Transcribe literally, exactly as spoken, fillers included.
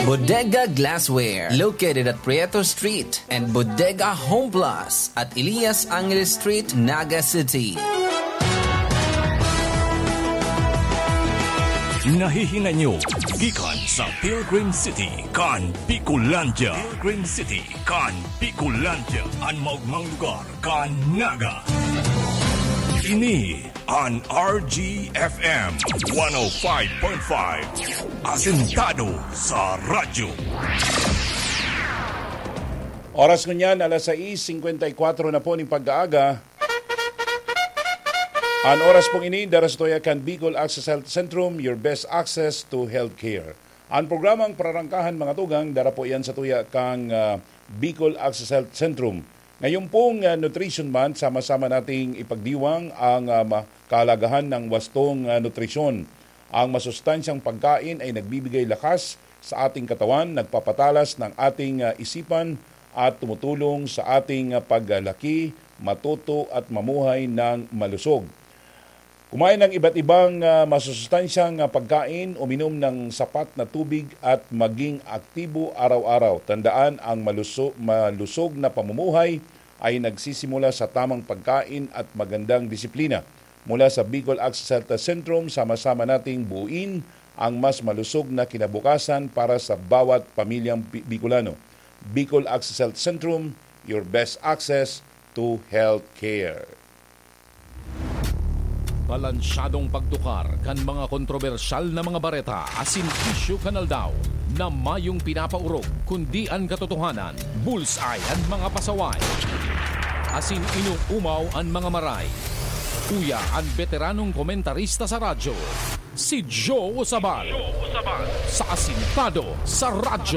Bodega Glassware, located at Prieto Street, and Bodega Home Plus at Elias Angeles Street, Naga City. Nahihinay nyo gikan sa Pilgrim City kan Bicolandia. Pilgrim City kan Bicolandia, an maogmang lugar kan Naga. Ini an R G F M one oh five point five, asentado sa radyo. Oras ngunyan, alas sais singkwenta y kwatro na po ning pag-aaga. An oras pong ini, dara sa tuya kan Bicol Access Health Centrum, your best access to healthcare. An programang Pararangkahan, mga tugang, dara po yan sa tuya kang, ah, Bicol Access Health Centrum. Ngayon pong, ah, Nutrition Month, sama-sama nating ipagdiwang ang, ah, ma-, kahalagahan ng wastong, ah, nutrisyon. Ang masustansyang pagkain ay nagbibigay lakas sa ating katawan, nagpapatalas ng ating, ah, isipan at tumutulong sa ating, ah, paglaki, matuto at mamuhay ng malusog. Kumain ng iba't ibang, ah, masusustansyang, ah, pagkain, uminom ng sapat na tubig at maging aktibo araw-araw. Tandaan, ang maluso-, malusog na pamumuhay ay nagsisimula sa tamang pagkain at magandang disiplina. Mula sa Bicol Access Health Centrum, sama-sama nating buuin ang mas malusog na kinabukasan para sa bawat pamilyang Bi-, Bicolano. Bicol Access Health Centrum, your best access to health care. Balansyadong pagtukar kan mga kontrobersyal na mga bareta asin isyu kan aldaw na mayong pinapaorog, kundi an katotohanan, bullseye an mga pasaway, asin inoomaw an mga maray. Uya an beteranong komentarista sa radyo, si Joe Usabal, sa Asintado sa Radyo.